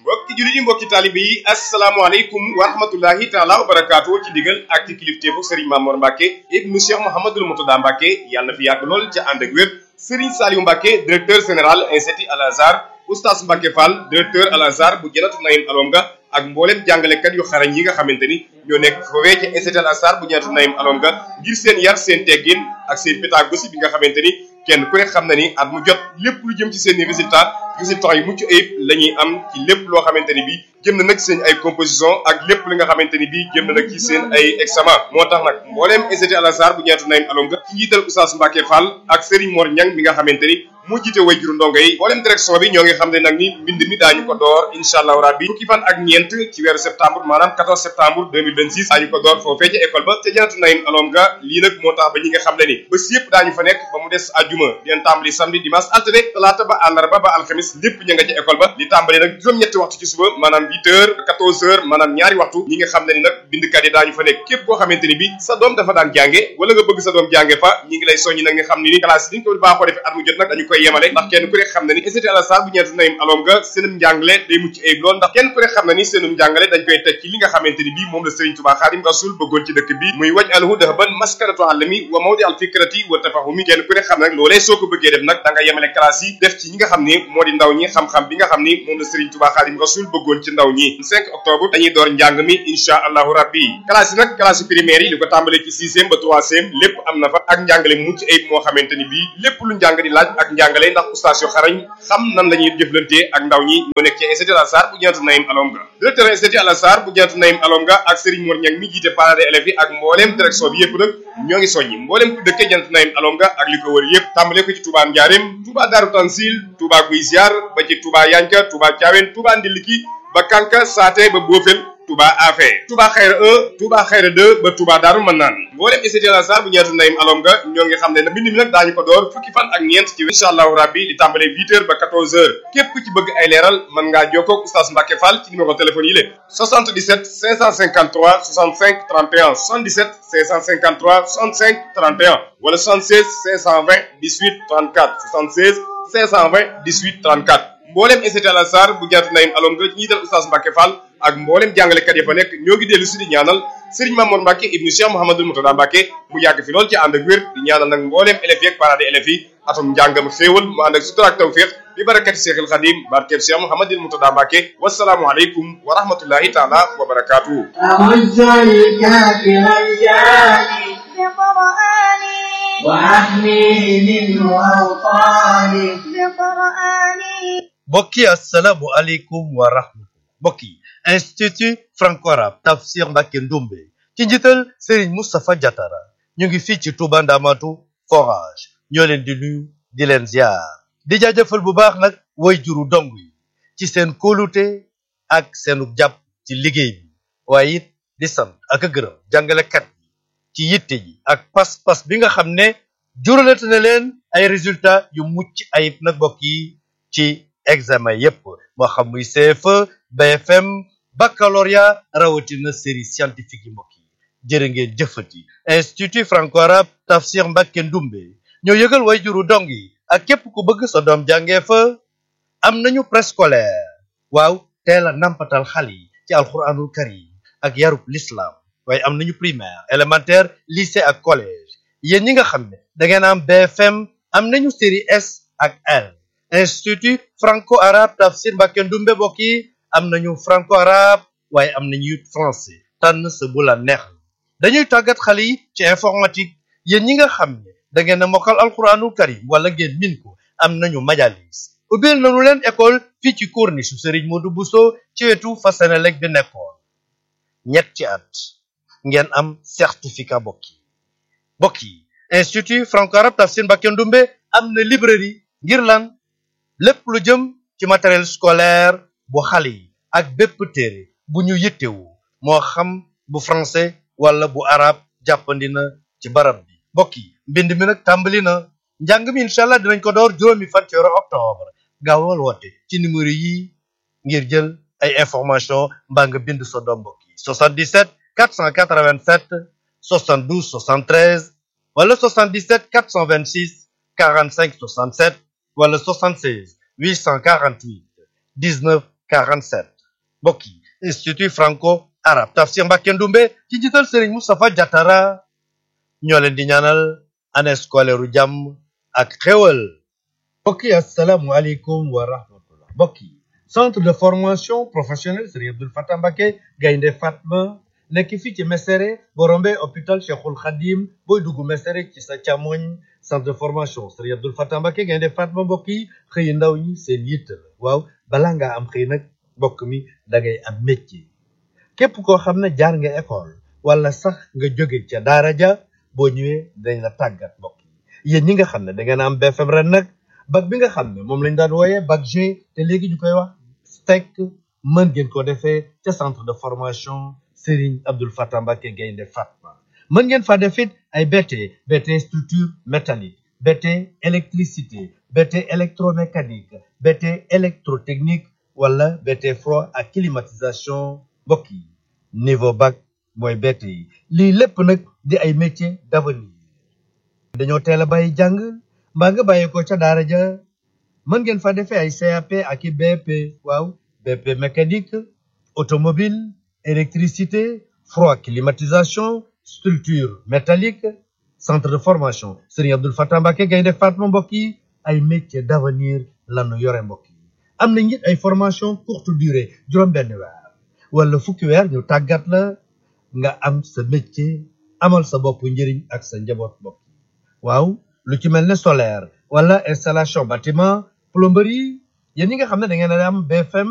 mbokki jullit yi mbokki taalibe yi asalaamaaleykum wa rahmatullahi taala wa barakaatu ci digal ak ci kilifteefu Serigne Mamour Mbacke ibnu Cheikh Mouhamadoul Moutada Mbacke yàlla na fi yàgg lool ca ànd ak wér Serigne Saliou Mbacke directeur général institut Al Azhar Oustaz Mbacke Fall directeur Al Azhar bu Janatu Naïm Alonga ak mboolem jàngalekat yu xarañ yi nga xamante ni ñoo nekk foofee ci institut Al Azhar bu Janatu Naïm Alonga ngir seen yar seen teggin ak seen pédagogie bi nga xamante ni kenn ku ne xam na ni at mu jot lépp lu jëm ci seen résultat yu mucc ayib la ñuy am ci lépp loo xamante ni bii jëm na nag seen ay composition ak lépp li nga xamante ni bii jëm na nag ci seen ay examen moo tax nag mbooleem institut Al Azhar bu Janatu Naïm Alonga ci njiital Oustaz Mbacke Fall ak Serigne Mor Niang mi nga xamante ni moo jiite way juru ndongo yi mbooleem direction bi ñoo ngi xam ne nag ni mbind mi daañu ko door incha allahu rabbi fukki fan ak ñeent ci weeru septembre maanaam 14 septembre 2026 daañu ko door foofee ca école ba ca Janatu Naïm Alonga lii nag moo tax ba ñi nga xam ne ni bés yëpp daañu fa nekk ba mu des àjjuma dinañ tàmbali samedi dimanche altine talaata ba àllarba ba alxamis lépp ña nga ca école ba li tàmbali nag juróom-ñetti waxtu ci suba maanaam 8 heures 14 heures maanaam ñaari waxtu ñi nga xam ne ni nag bindkat yi daañu fa nekk képp koo xamante ni bi sa doom dafa daan jànge wala nga bëgg sa doom jànge fa ñi ngi lay soññi nag nga xam ne ni classe yi niñ ko baaxoo defee at mu jot nag dañu koy yemale ndax kenn ku ne xam ne ni institut Al Azhar bu Janatu Naïm Alonga seenum njàngale day mucc ayib lool ndax kenn ku ne xam ne ni seenum njàngale dañ koy teg ci li nga xamante ni bi moom la Serigne Touba Khadim Rasoul bëggoon ci dëkk bi muy waj alhu dahban maskanatu alami wa mawdi al fikrati wa tafahumi kenn ku ne xam ne nag loolee soo ko bëggee def nag da nga yemale classe yi def ci ñi nga xam ni moo di ndaw ñi xam-xam bi nga xam ni moom la Serigne Touba Khadim Rasoul bëggoon ci ndaw ñi 5 octobre dañuy door njàng mi insha allahu rabbi classe yi nag classe primaire yi li ko tàmbalee ci 6e ba 3e lépp am na fa ak njàngale mucc ayib moo xamante ni bii lépp lu njàng di laaj ak njàngale ndax oustaz yu xarañ xam nan la ñuy jëflantee ak ndaw ñi ñoo nekk ci institut Al Azhar bu Janatu Naïm Alonga directeur institut Al Azhar bu Janatu Naïm Alonga ak Serigne Mor Niang mi jiite parents d'élèves yi ak mbooleem direction bi yëpp nag ñoo ngi soññi mbooleem ku dëkkee Janatu Naïm Alonga ak li ko wër yëpp tàmbalee ko ci Touba Ndiarème Touba Darou Tansil Touba Guy Ziar ba ci Touba Yanka Touba Thiawène Touba Ndiliki ba Kanka Saate ba Bofel Touba Afé Touba Xayra 1 Touba Xayra 2 ba Touba Darou Manaan mboolem institut Al Azhar bu Janatu Naïm Alonga ñoo ngi xam ne nag mbind mi nag daañu ko door fukki fan ak ñeent ci incha allahu rabbi li tàmbalee 8 heures ba 14 heures képp ku ci bëgg ay leeral mën ngaa jokkoo ak Oustaz Mbacke Fall ci numéro téléphone yi la 77 553 65 31 77 553 65 31 wala 76 520 18 34 76 520 18 34 mboolem institut Al Azhar bu Janatu Naïm Alonga ci njiital Oustaz Mbacke Fall ak mboolem jàngalekat ya fa nekk ñoo ngi dellu si di ñaanal Serigne Mamour Mbacke ibnu Cheikh Mouhamadoul Moutada Mbacke mu yàgg fi lool ci ànd ak wér di ñaanal nag mboolem élèves yi ak parents d'élèves yi atum njàngam xéewal mu ànd ak sutura ak tawfiq bi barakati Cheikhul Khadim barkeb Cheikh Mouhamadoul Moutada Mbacke wasalaamu aleykum wa rahmatullahi taala wa barakatuhu mbokki assalaamu aleykum wa rahmatullah mbokki institut franco-arabe Tafsir Mbacke Ndoumbe ci njiital Serigne Moustapha Diatara ñu ngi fii ci Touba Ndamatu forage ñoo leen di nuyu di leen ziar di jaajëfal bu baax nag way juru dong yi ci seen kóolute ak seenu jàpp ci liggéey bi waaye it di sant ak a gërëm jàngalekat yi ci yitte ji ak pas-pas bi nga xam ne juralate na leen ay résultats yu mucc ayib nag mbokk yi ci examen yépp moo xam muy CFE BFM baccalauréat rawatina série scientifique yi mbokk yi jërë ngeen jëfati institut franco-arabe Tafsir Mbacke Ndoumbe ñoo yëgal way juru dong yi ak képp ku bëgg sa doom jàngee fa am nañu préscolaire waaw teel a nampatal xale yi ci alxuraanul karim ak yarub l'islam waaye am nañu primaire élémentaire lycée ak collège yéen ñi nga xam ne da ngeen am BFM am nañu série S ak L institut franco-arabe Tafsir Mbacke Ndoumbe mbokk yi am nañu franco-arabe waaye am nañu français tànn sa bu la neex dañuy tàggat xale yi ci informatique yéen ñi nga xam ne da ngeen a mokkal alquranul karim wala ngeen min ko am nañu majalis ubbil nañu leen école fii ci corniche Serigne Modou Bousso ci wetu Fasenelek bi nekkoon ñetti at ngeen am certificat mbokk yi institut franco-arabe Tafsir Mbacke Ndoumbe am na librairie ngir lan lépp lu jëm ci matériel scolaire bu xale yi ak bépp téere bu ñu yittewu moo xam bu français wala bu arabe jàppandi na ci barab bi mbokk yi mbind mi nag tàmbali na njàng mi incha allah dinañ ko door juróomi fan ci weeru octobre gaawal woote ci numéro yi ngir jël ay information mbaa nga bind sa doom mbokk yi 77 487 72 73 wala 77 426 45 67 wala 76 848 19 47 mbokk yi institut franco arabe Tafsir Mbacké Ndoumbe ci njiital Serigne Moustapha Diatara ñoo leen di ñaanal année scolaire u jàmm ak xéwal mbokk yi asalaamualeykum wa rahmatullah mbokk yi centre de formation professionnelle Serigne Abdoul Fatah Mbacké Gaynde Fatma nekk fii ci Mesere boo rombee hôpital Cheikhul Khadim booy dugg Mesere ci sa càmmoñ centre de formation Serigne Abdoul Fatah Mbacké Gaynde Fatma mbokk yi xëy ndaw ñi seen yitte la waaw balaa ngaa am xëy nag mbokk mi da ngay am métier képp koo xam ne jaar nga école wala sax nga jóge ca daara ja boo ñëwee dañ la tàggat mbokk yi yéen ñi nga xam ne da ngeen am BFM ren nag bac bi nga xam ne moom lañ daan wooyee bac G te léegi ñu koy wax STEC mën ngeen ko defee ca centre de formation Serigne Abdoul Fatah Mbacké Gaynde Fatma mën ngeen fa def it ay BT structure métallique BT électricité BT électromécanique BT électrotechnique wala BT froid ak climatisation mbokk yi niveau bac mooy BT yi lii lépp nag di ay métiers d'avenir dañoo teel a bàyyi jàng mbaa nga bàyyi ko ca daara ja mën ngeen fa defee ay CAP ak i BP waaw BP mécanique automobile électricité froid climatisation structure métallique centre de formation Serigne Abdoul Fatah Mbacké Gaynde Fatma mbokk yi ay métiers d'avenir lanu yore mbokk yi am na it ay formation courte durée juróom-benn weer wala fukki weer ñu tàggat la nga am sa métier amal sa bopp njëriñ ak sa njaboot mbokk yi waaw lu ci mel ne solaire wala installation bâtiment plomberie yéen ñi nga xam ne da ngeen a am BFM